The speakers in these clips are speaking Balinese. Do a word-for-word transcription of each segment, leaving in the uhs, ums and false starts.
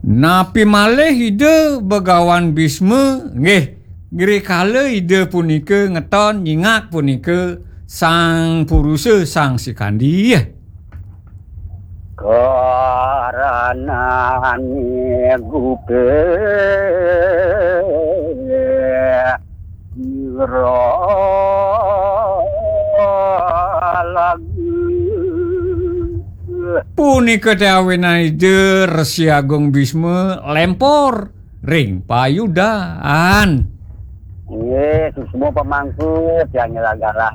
Napi malih Ida Begawan Bisma, nggih, rikala Ida punika ngeton nyingak punika Sang Purusa Sang Sikandi. Karana gupe ira lagu. Punika te awinan Ida Resi Agung Bisma lempor ring payudan. Nggih, suksma pamangku, tiang nyelagalah,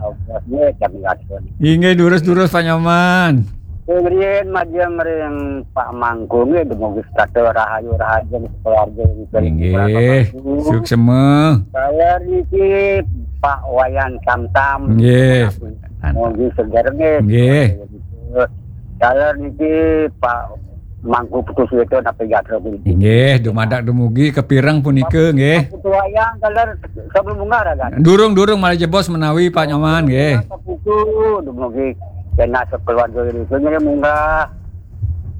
nggih, jam ngatun. Inggih, durus-durus, Pak Nyoman. Ring riin majeng ring Pak Mangku, nggih, dumugi setata rahayu, rahayu, keluarga, nggih, Pak Mangku. Suksma. Taler niki Pak Wayan Samsam. Nggih. Mugi seger, nggih. Nggih. Taler niki Pak Mangku Putu Suwito napi gatra puniki. Nggih, dumadak dumugi kapireng punika, nggih. Pak Putu Wayang, taler sebelum munggah, ragan. Durung, durung, malih jebos menawi, Pak Nyoman, nggih. Pak Putu, dumugi kena sekeluarga itu, nggih, munggah.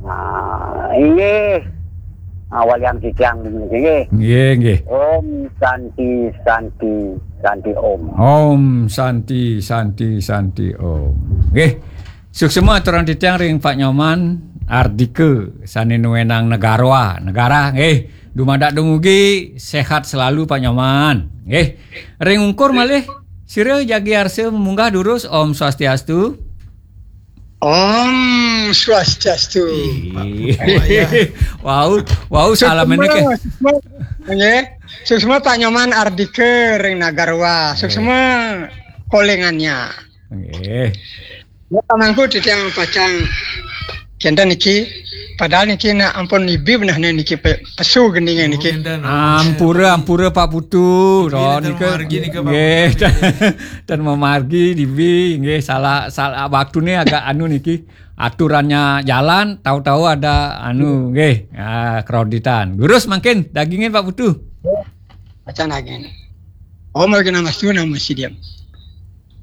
Nah, inggih. Awalian titiang, nggih. Nggih, nggih. Om Santi, Santi, Santi Om. Om Santi, Santi, Santi Om. Nggih. Suksma aturang titiang ring Pak Nyoman Ardika sane nuenang negara, negara, nggih. Dumadak dumugi sehat selalu, Pak Nyoman. Nggih. Ring ungkur malih, sira jagi arsa munggah durus. Om Swastiastu. Om Swastiastu. Ih. Pak Wayan. Wau, wau, salam ini ke. Suksma, suksma. Nggih. Suksma Pak Nyoman Ardika ring Nagarwa. Suksma kolingannya. Nggih. Ya, Pak Mangku, titiang pacang kenten niki. Padahal niki nak ampun ibi benah niki pe-, pesu geninge niki. Ampura, ampura, Pak Putu. Ron nika. Nggih, tan mamargi dibi, nggih, salah, salah waktune agak anu niki. Aturannya jalan, tahu-tahu ada anu, nggih, ah, kreditan. Durus mangkin dagingin, Pak Putu. Pacang daging. Om Awighnamastu Namo Sidham.